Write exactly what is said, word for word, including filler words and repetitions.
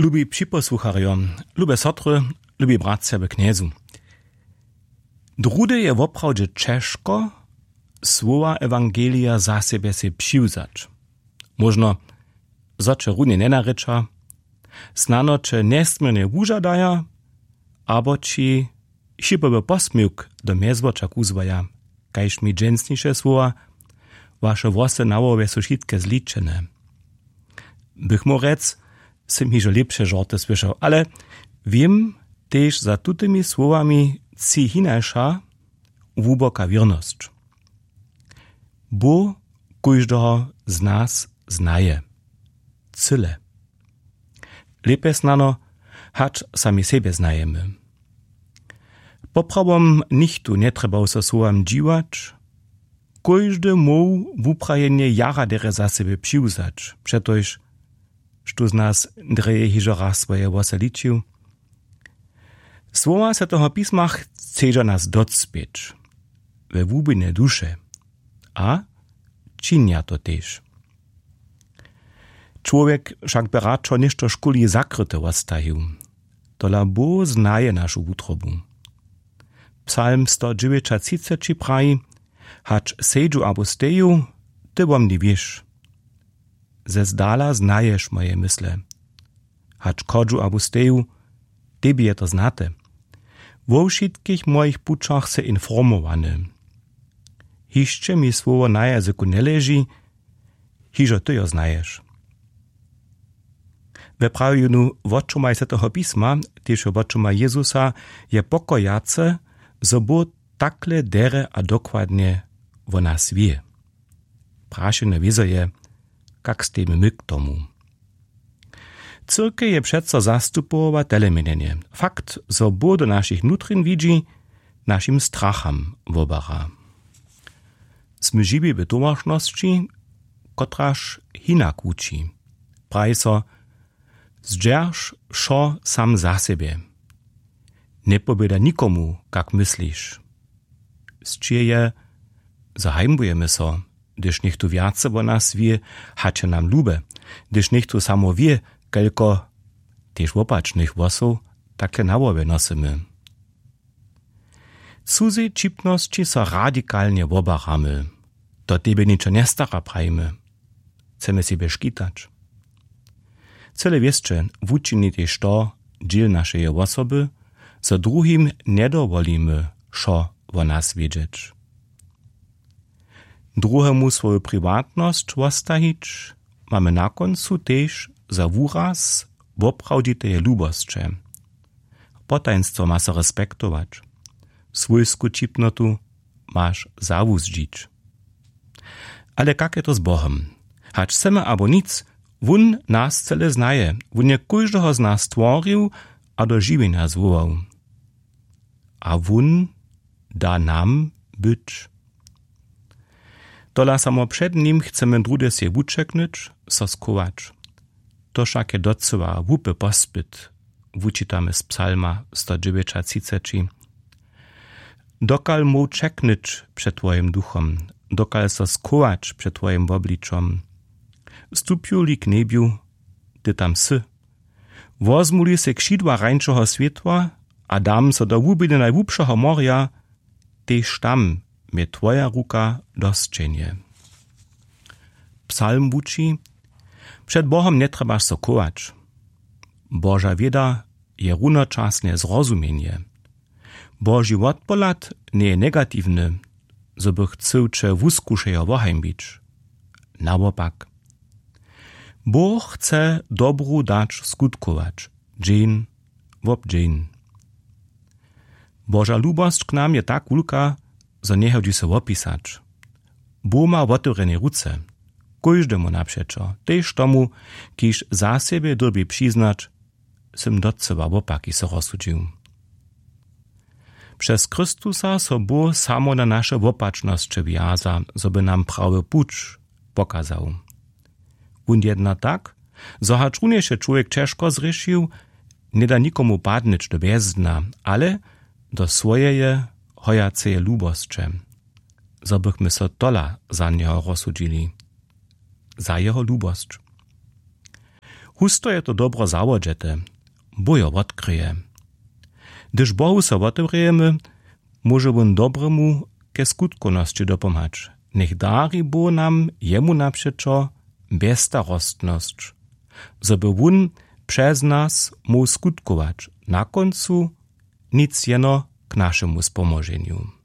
Lubi připosłucharjo, lube sotry, lubi bratřa w Knjezu. Druhdy je woprawdźe ćežko słowa ewangelija za sebje sej přiwzać. Móžno, zo će runje njenarěča, snano će njesměrnje wužadaja, abo ći šipowy posměwk do mjezwoča kuzłaja, kaž mi dźensniše słowa: „Waše włosy na hłowje su wšitke zličene.” Bych móhł rjec, sym hižo lěpše žorty słyšał, ale wěm, tež za tutymi słowami tři hinaša hłuboka wěrnosć. Bóh kóždeho z nas znaje. Cyle. Lěpje snano, hač sami sebje znajemy. Poprawom nichtó njetrjebał so słowam dźiwać, kóždy móhł wuprajenje jara derje za sebje přiwzać, přetož štó z nas drje hižo raz swoje włosy ličił. Słowa Swjateho pisma chcedźa nas docpěć we hłubinje duše a činja to tež. Čłowjek wšak by radšo něšto škuli zakryte wostajił. Tola Bóh znaje našu wutrobu. Psalm sto dźewjećatřiceći praji: „Hač sedźu abo steju, ty wo mni wěš. Ze zdala znaješ moje mysle. Hač chodźu abo steju, tebi je to znate. Wo wšitkich mojich pućach sy informowany. Hišće mi słowo na jazyku njeleži, hižo ty jo znaješ.” We prawjenju wočomaj Swjateho pisma, tež wočomaj Jezusa, je pokojace, zo Bóh takle derje a dokładnje wo nas wě. Prašenje wězo je, kak stejimy my k tomu? Cyrkej je přeco zastupował teleměnjenje. Fakt, zo Bóh do našich nutrin widźi, našim stracham wobara. Smy žiwi w towaršnosći, kotraž hinak wuči. Praji so: „Zdźerž wšo sam za sebje. Njepowěda nikomu, kak mysliš.” Sćěh je, zo hajmbujemy so, hdyž něchtó wjace wo nas wě, hač je nam lube, hdyž něchtó samo wě, kelko, tež wopačnych hłosow, takle na hłowje nosymy. Cuzej ćipnosći so radikalnje wobaramy. Do tebje ničo njestara, prajimy. Chcemy sebje škitać. Cyle wěsće wučini tež to dźěl našeje wosoby, zo druhim njedowolimy, wšo wo nas wědźeć. Druhemu swoju priwatnosć wostajić mamy na kóncu tež za wuraz woprawdźiteje lubosće. Potajnstwo ma so respektować. Swójsku ćipnotu maš zawuzdźić. Ale kak je to z Bohom? Hač chcemy abo nic, wón nas cyle znaje. Wón je kóždeho z nas stworił a do žiwjenja zwołał. A wón da nam być. Tola samo před nim chcemy druhdy sej wućeknyć, so schować. To wšak je docyła hłupi pospyt, wučitamy z Psalma sto dźewjećatřiceći. Dokal móhł ćeknyć před twojim duchom, dokal so schować před twojim wobličom? Stupju-li k njebju, ty tam sy. Wozmu-li sej křidła rańšeho swětła a dam so do hłubiny najhłubšeho morja, tež tam mje twoja ruka dosćenje. Psalm wuči: „Před Bohom njetrjebaš so chować. Boža wěda je runočasnje zrozumjenje. Boži wotpohlad njeje negatiwny, zo by chcył će wuskušejo wohajmbić. Nawopak, Bóh chce dobru dać skutkować, dźeń wob dźeń.“ Boža lubosć k nam je tak wulka, zo njehodźi so wopisać. Bóh ma wotewrjene ruce, kóždemu napřećo, tež tomu, kiž za sebje dyrbi přiznać: „Sym docyła wopaki so rozsudźił.“ Přez Chrystusa so Bóh samo na naše wopačnosće wjaza, zo by nam prawy puć pokazał. Wón jedna tak, zo hačrunjež je čłowjek ćežko zhrěšił, njeda nikomu padnyć do bjezdna, ale do swojeje hojaceje lubosće, zo bychmy so tola za njeho rozsudźili, za jeho lubosć. Pusto je to dobro zawodźete, Bóh jo wotkryje. Hdyž Bohu so wotewrějemy, móže wón dobremu ke skutkownosći dopomhać. Njech dari Bóh nam jemu napřećo bjezstarostnosć, zo by wón přez nas móhł skutkować na kóncu nic jeno k našemu spomóženju.